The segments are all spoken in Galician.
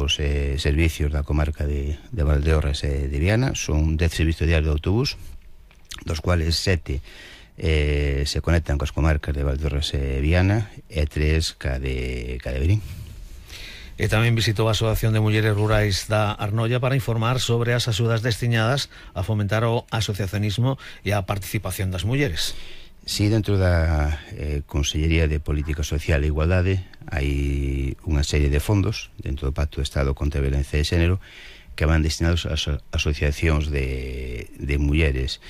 os servicios da comarca de Valdeorras e de Viana. Son 10 servicios diarios de autobús, dos cuales 7 se conectan coas comarcas de Valdeorras e Viana e 3 ca de Verín. E tamén visitou a Asociación de Mulleres Rurais da Arnoia para informar sobre as axudas destinadas a fomentar o asociacionismo e a participación das mulleres. Si, dentro da Consellería de Política Social e Igualdade hai unha serie de fondos dentro do Pacto de Estado contra a Violencia de Xénero que van destinados ás asociacións de mulleres.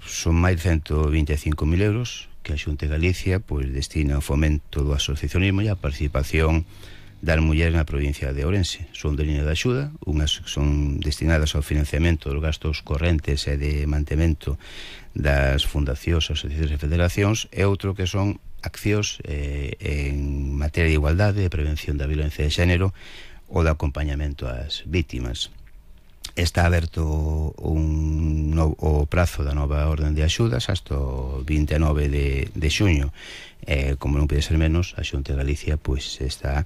Son máis de 125.000 euros que a Xunta de Galicia destina ao fomento do asociacionismo e a participación das mulleres na provincia de Ourense. Son de línea de axuda, unhas son destinadas ao financiamento dos gastos correntes e de mantemento das fundacións, asociacións e federacións, e outro que son accións en materia de igualdade, de prevención da violencia de xénero ou de acompañamento ás vítimas. Está aberto o prazo da nova orden de axudas hasta o 29 de xuño. Como non pode ser menos, a Xunta de Galicia está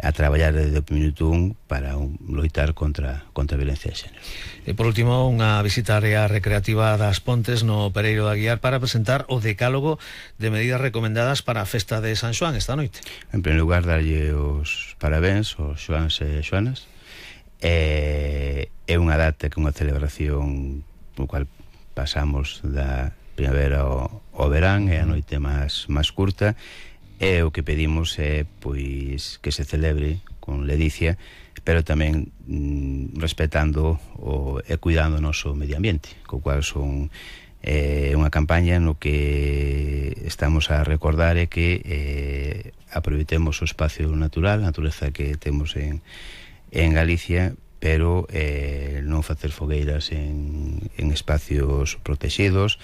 a traballar desde o minuto 1 para loitar contra a violencia de xénero. E por último, unha visita á área recreativa das Pontes no Pereiro da Guiar para presentar o decálogo de medidas recomendadas para a festa de San Xoán esta noite. En primeiro lugar, darlle os parabéns aos xoáns e xoanas. É unha data que unha celebración no cual pasamos da primavera ao verán, é a noite máis curta, e o que pedimos é que se celebre con ledicia, pero tamén respetando e cuidando o noso medio ambiente, co cual son unha campaña no que estamos a recordar é que aproveitemos o espacio natural, a natureza que temos en Galicia, pero non facer fogueiras en espacios protegidos,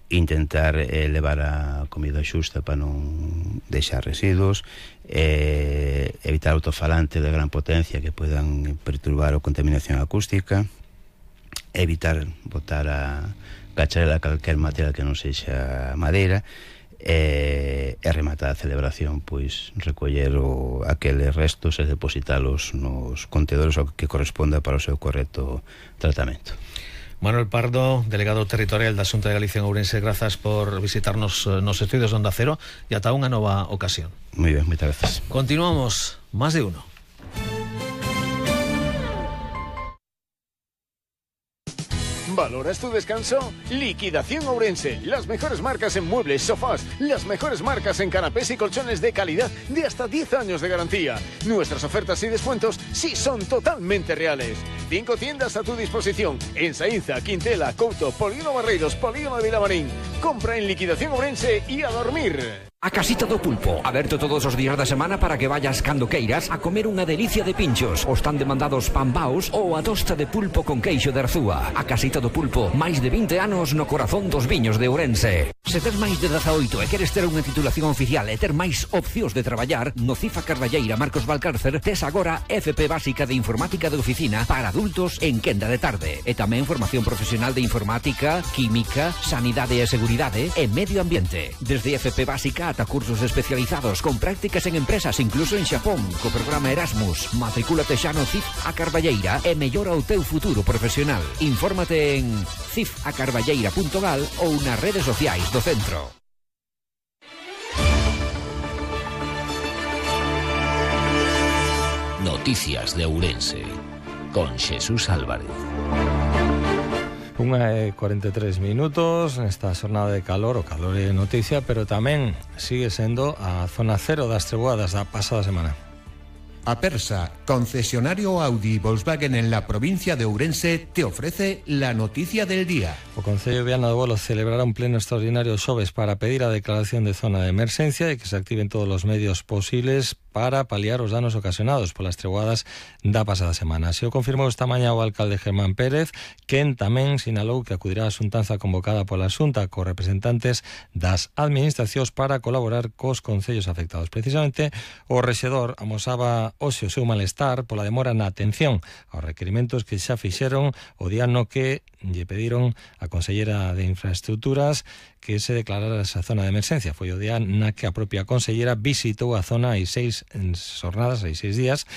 intentar levar a comida xusta para non deixar residuos, evitar autofalantes de gran potencia que podan perturbar a contaminación acústica, evitar botar a cacharela calquer material que non sexa madeira, e rematar a celebración recoller aqueles restos e depositalos nos contedores ao que corresponda para o seu correcto tratamento. Manuel Pardo, delegado territorial da Xunta de Galicia en Ourense, grazas por visitarnos nos estudios de Onda Cero e ata unha nova ocasión. Moi ben, moitas gracias. Continuamos, Más de Uno. ¿Valoras tu descanso? Liquidación Ourense. Las mejores marcas en muebles, sofás, las mejores marcas en canapés y colchones de calidad de hasta 10 años de garantía. Nuestras ofertas y descuentos sí son totalmente reales. 5 tiendas a tu disposición en Saínza, Quintela, Couto, Polígono Barreiros, Polígono de Vilamarín. Compra en Liquidación Ourense y a dormir. A Casita do Pulpo, aberto todos os días da semana para que vayas cando queiras a comer unha delicia de pinchos, os tan demandados pambaos ou a tosta de pulpo con queixo de Arzúa. A Casita do Pulpo, máis de 20 anos no corazón dos viños de Ourense. Se tes máis de 18 e queres ter unha titulación oficial e ter máis opcións de traballar, no CIF a Carballeira Marcos Valcárcer tes agora FP Básica de Informática de Oficina para adultos en quenda de tarde. E tamén formación profesional de informática, química, sanidade e seguridade e medio ambiente. Desde FP Básica ata cursos especializados con prácticas en empresas, incluso en Xapón, co programa Erasmus. Matricúlate xa no CIF a Carballeira e mellora o teu futuro profesional. Infórmate en cifacarballeira.gal ou nas redes sociais do centro. Noticias de Ourense con Xesús Álvarez. 1:43 nesta xornada de calor. O calor é noticia, pero tamén sigue sendo a zona cero das treboadas da pasada semana. Apersa, concesionario Audi y Volkswagen en la provincia de Ourense, te ofrece la noticia del día. O Concello de Viana do Bolo celebrará un pleno extraordinario xoves para pedir a declaración de zona de emerxencia e que se activen todos os medios posibles para paliar os danos ocasionados polas treboadas da pasada semana. Se o confirmou esta mañá o alcalde Germán Pérez, quen tamén sinalou que acudirá a xuntanza convocada pola Xunta cos representantes das administracións para colaborar cos concellos afectados. Precisamente, o rexedor amosaba hoxe o seu malestar pola demora na atención aos requerimentos que xa fixeron o día no que lle pediron a consellera de Infraestructuras que se declarara esa zona de emerxencia. Foi o día na que a propia consellera visitou a zona hai 6 días